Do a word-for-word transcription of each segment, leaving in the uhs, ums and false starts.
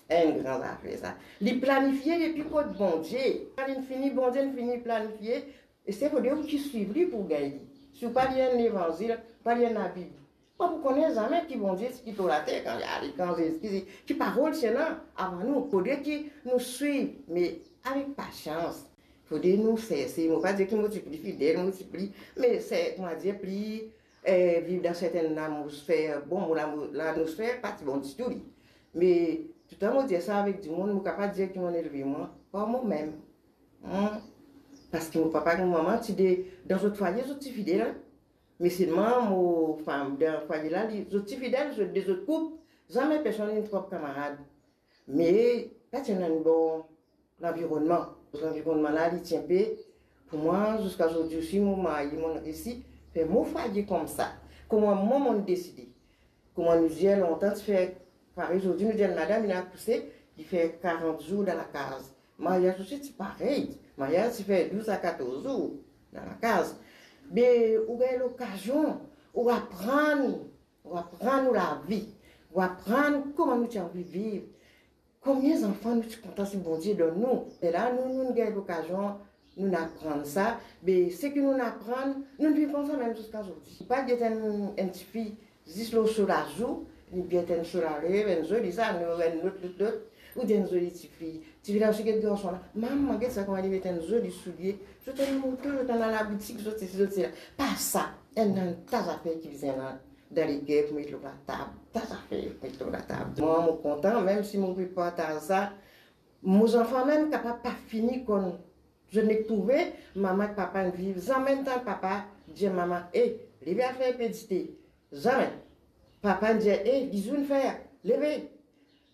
Enn gran zafer sa. Li planifie depi kot Bondie. Kan li fini, Bondie fini planifie, e se fode ou ki swiv li pou gagn li. Si ou pa lir enn levanzil, pa lir enn Labib, pa pou kone zame ki Bondie ti kit lor later kan li ale, kan Zezi, ki, ki parol ti ena avan nou. Fode ki nou swiv, me avek pasians. Fode nou serse. Mo pa dir ki mo ti pli fidel, mo ti pli, me se, kouma dir, pli, eh, viv dan sertenn lamosfer. Bon, mo lamo-, lamosfer pa ti bon ditou li. Me toutan mo dir sa avek dimoun, mo kapav dir ki monn elve mwa par momem. Hmm. Parski mo papa ek mo mama ti de, dan zot fwaye, zot ti fidel, hein. Me selman mo, anfin, dan fwaye la, li, zot ti fidel, zot de zot koup, zame personn inn trap kamarad. Me pa ti ena enn bon lanvironnman. Lanvironnman la, li ti inpe, pou mwa, ziska zordi osi, mo marye, monn resi fer mo fwaye koumsa. Kouma mwa, monn deside. Kouma nou dir lontan, ti fer, parey zordi nou dir enn madam, inn akouse, li fer karant zour dan lakaz. Maryaz osi ti parey. Maryaz ti fer douz a katorz zour dan lakaz. Be ou gagn lokazion, ou aprann, ou aprann ou lavi, ou aprann kouma nou ti anvi viv, konbien zanfan nou ti kontan si Bondie donn nou. E la, nou, nou gagn lokazion, nou aprann sa. Be seki nou aprann, nou viv koumsa mem ziska zordi. Pa get enn, enn tifi zis lor so lazou, li get enn so lalev, enn zoli sa, nou enn lot, lot, lot, ou dir enn zoli tifi. Tifi la osi get garson la. Mama, get sa kouma li met enn zoli soulie. Zot ena moto, zot ena labitik, zot sesi, zot sela. Pa sa, ena enn ta zafer ki bizin dan, dan leker pou met lor latab. Ta zafer pou met lor latab. Mwa, mo kontan, mem si mo pe partaz sa, mo zanfan mem kapav pa fini konn. Zot nek trouve mama ek papa inn viv, zame tann papa dir mama, "E, leve al fer inpe dite." Zame. Papa inn dir, "E, dizou inn fer, leve."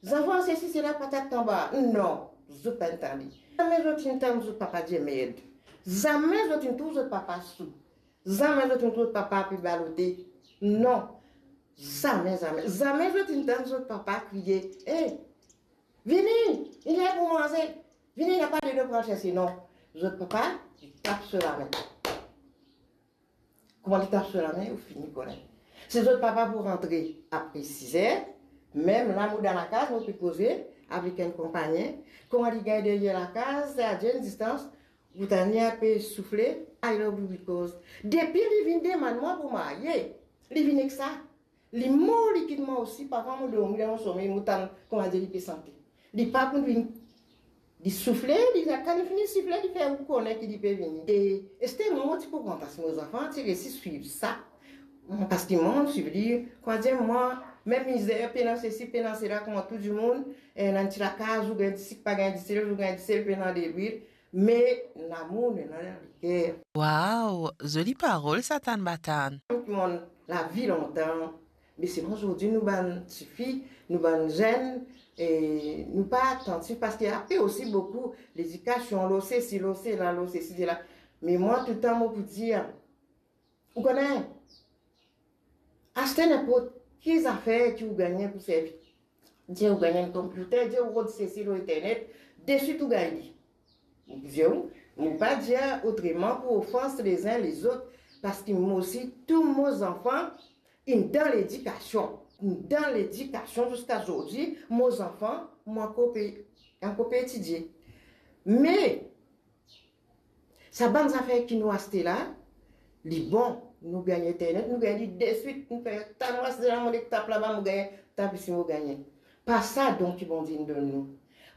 Zanfan, sesi, sela, patat anba. Non, zot pa inn tande. Zame zot inn tann zot papa dir merd. Zame zot inn trouv zot papa sou. Zame zot inn trouv zot papa pe balote. Non. Zame, zame. Zame zot inn tann zot papa kriye, "E, vini, li ler pou manze. Vini, napa delo pou al serse." Non. Zot papa, li tap so lame. Kouma li tap so lame, ou fini kone. Si zot papa pou rantre apre siz er, mem la mo dan lakaz, mo pe koze avek enn konpagnen, kouma li gagn deryer lakaz, sa dir enn distans, ou tann li inpe soufle, "I love you" because depi li vinn demann mwa pou marye, li vinn ek sa. Li mor, li kit mwa osi, parfwa mo dormi dan mo somey, mo tann, kouma dir, li pe sante. Li pa pou vinn, li soufle, li, kan li fini sifle, li fer ou kone ki li pe vini. E, ester mwa, mo ti pou kontan si mo zanfan ti resi swiv sa. Parski mwa, mo swiv li, kouma dir, mwa, mem mizer, pena sesi, pena sela, kouma tou dimoun, e, ena enn ti lakaz, ou gagn disik, pa gagn disel, ou gagn disel, pena delwil, me lamour nou ena dan leker. Wow, zoli parol sa, tann ba tann. Ki monn lavi lontan, me selman zordi nou bann tifi, nou bann zenn, e nou pa atantif, parski ape osi boukou ledikasion, lor sesi, lor sela, lor sesi, sela. Me mwa, touletan mo pou dir, ou kone, aste ninport ki zafer ki ou gagne pou servi. Dir ou gagne enn konpiter, dir ou rod sesi lor internet, deswit ou gagne li. Mo dir ou, mo pa dir otreman pou ofans lezin lezot, parski mo osi, tou mo zanfan inn dan ledikasion. Inn dan ledikasion ziska zordi, mo zanfan, mo ankor pe, ankor pe etidie. Me, sa bann zafer ki nou aste la, li bon, nou gagne internet, nou gagne li deswit, nou fer ta, mo aste la, mo nek tap laba, mo gagne, tap isi, mo gagne. Pa sa don ki Bondie inn donn nou.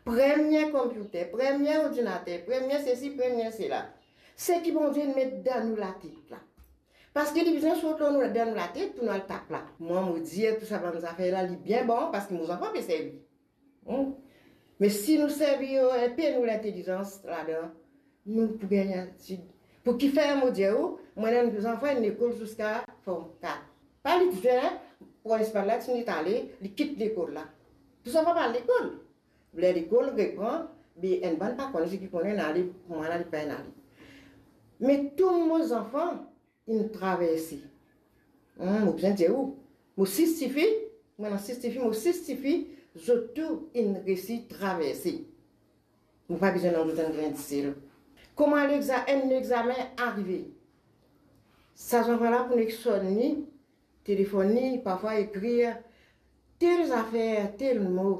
Premie konpiter, premie ordinater, premie sesi, premie sela. Seki Bondie inn met dan nou latet la. Parski li bizin sort lor nou, dan nou latet pou nou al tap la. Mwa, mo dir tou sa bann zafer la, li bien bon, parski mo zanfan pe servi. Hmm? Me si nou servi, eh, inpe nou lintelizans ladan, nou pou gagn etid. Pou kifer mo dir ou, mwa, enn zanfan inn lekol ziska form kat. Pa li ti fer, pran espal la, ti net ale, li kit lekol la. Tou zanfan pa al lekol. Ler lekol repran, be enn bann pa kone, seki kone inn ale, mwa la li pa inn ale. Me tou mo zanfan, inn traverse. Hmm, mo bizin dir ou, mo sis tifi, mo ena sis tifi, mo sis tifi, zot tou inn resi traverse. Mo pa bizin donn zot enn grin disel. Kouma lexa-, enn lexamen arive, sa zanfan la pou nek sonn li, telefonn li, parfwa ekrir, tel zafer, tel mo,